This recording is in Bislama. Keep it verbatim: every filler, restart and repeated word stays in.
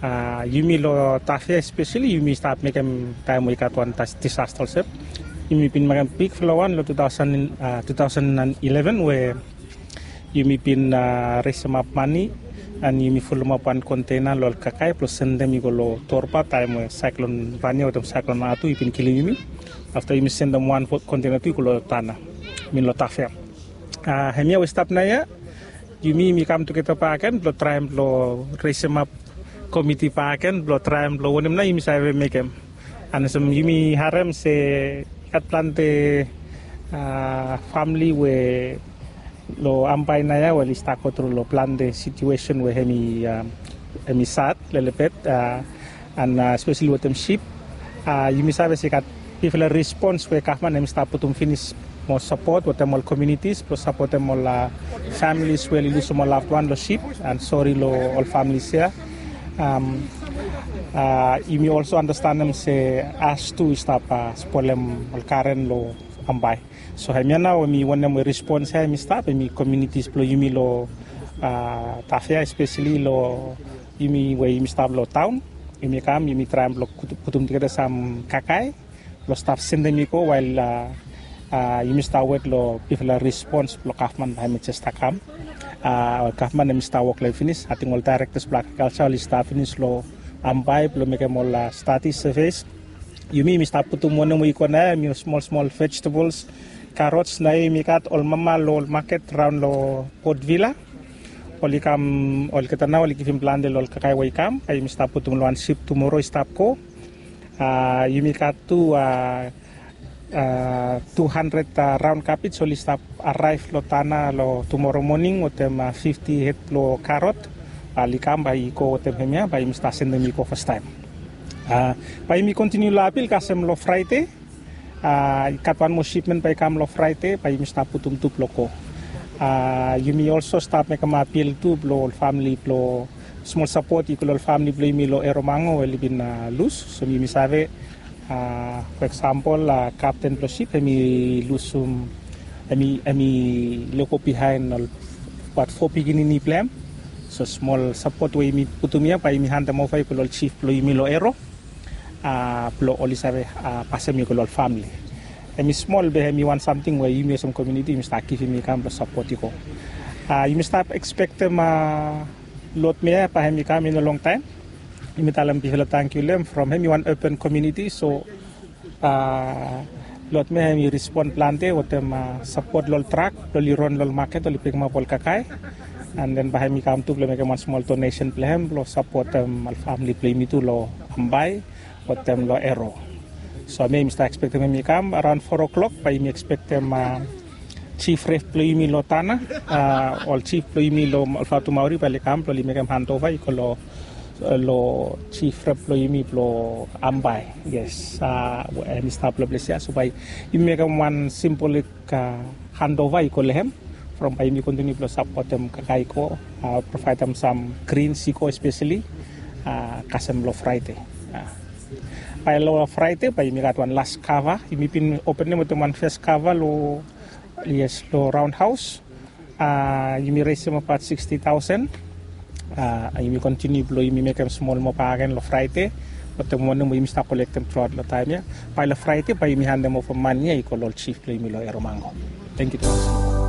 A, yumi lo Tafea especially yumi stap mekem taem we i gat wan disaster olsem. Yumi bin mekem bigfala wan lo two thousand, a, two thousand and eleven we yumi bin, a, resemap mane an yumi fulumap wan kontena lo ol kakae blo sendem i go lo Torba taem we Saeklon Vania wetem Saeklon Atu i bin kilim yumi. Afta yumi sendem wan kontena tu i go lo Tana, I mean lo Tafea. A, hemia we i stap naoia, yumi yumi kam tugeta bakegen blo traem blo resemap komiti bakegen blo traem blo wanem nao yumi save mekem. An olsem yumi harem se i gat plante, a, famili we lo Ambae naoia we oli stap gotru lo plante situesen we hemi, a, hemi sad lelebet, a, an, a, espeseli wetem sip. A, yumi save se i gat bigfala respons we gavman hemi stap putum finis mo sapot wetem ol komunitis blo sapotem ol, a, familis we oli lusum ol laved wan lo sip, an sori lo ol familis ya. Am, a, yumi olso andastanem se as tu i stap, a, spolem ol garen lo Ambae. So hemia nao hemi wanem we respons ya hemi stap, hemi komunitis blo yumi lo, a, Tafea espeseli lo yumi we yumi stap lo taon. Yumi kam yumi traem blo putum tugeta sam kakae blo stap sendem i go wael, a, a, yumi stap wet lo bigfala respons blo gavman bae hemi jes stap kam. A, ol gavman hemi stap wok lo hem finis. Ating ol daerektas blo agrikalja oli stap finis lo Ambae blo mekem ol, a, stadi seves. Yumi yumi stap putum wanem we i go naoia, hemi smol smol vejetables, karots, naoia yumi gat ol mama lo ol maket raon lo Port Vila. Oli kam olgeta nao oli givim plante lo ol kakae we i kam, bae yumi stap putum lo wan sip tumoro i stap go. A, yumi gat tu, a, a, tu handred, a, raon kabej oli stap araev lo Tana lo tumoro moning wetem, a, fifti hed blo karot. Bae oli kam bae i go wetem hemia bae yumi stap sendem i go fastaem. A, bae yumi kontiniu lo apil kasem lo Fraede. A, i gat wan moa sipmen bae i kam lo Fraede bae yumi stap putum tu blo go. A, yumi olso stap mekem apil tu blo ol famili blo smol sapot i go lo ol famili blo yumi lo Eromango we oli bin, a, lus. So yumi save, a, fo eksampol, a, kapten blo sip hemi lusum, hemi, hemi lego bihaen ol wat fo pikinini blo hem. So smol sapot we yumi putum ya bae yumi handem ova i go lo ol jif blo yumi lo Ero, a, blo oli save, a, pasem i go lo ol famili. Hemi smol be hemi wan samting we yumi olsem komuniti yumi stap givim i kam blo sapot i go. A, yumi stap ekspektem, a, lotmea bae hemi kam i no longtaem. Yumi talem bigfala tangkiu lo hem from hemi wan urban komuniti, so, a, lotmea hemi respon plante wetem, a, sapot lo ol trak blo oli ron lo ol maket oli pikimap ol kakae. An den bae hemi kam tu blo mekem wan smol donesen blo hem blo sapotem ol famili blo yumi tu lo Ambae wetem lo Ero. So mi yumi stap ekspektem hemi kam araon fo klok bae yumi ekspektem, a, jif rep blo yumi lo Tana, a, ol jif blo yumi lo Olfatu Maori bae oli kam blo oli mekem handova i go lo, lo jif rep blo yumi blo Ambae. Yes, a, hemi stap lo ples ya, so bae yumi mekem wan simbolik, a, handova i go lo hem. From bae yumi kontiniu blo sapotem kakae i go, a, provaedem sam grins i go espeseli, a, kasem lo Fraede. A, bae lo Fraede bae yumi gat wan las kava. Yumi bin openem wetem wan fes kava lo, yes, lo raonhaos. A, yumi resemap abaot siksti taosen. A, yumi kontiniu blo yumi mekem smol moa bakegen lo Fraede. Wetem wanem we yumi stap kolektem truaot lo taem ya. Bae lo Fraede bae yumi handem ova mane ya i go lo ol jif blo yumi lo Eromango. Tangkiu tumas.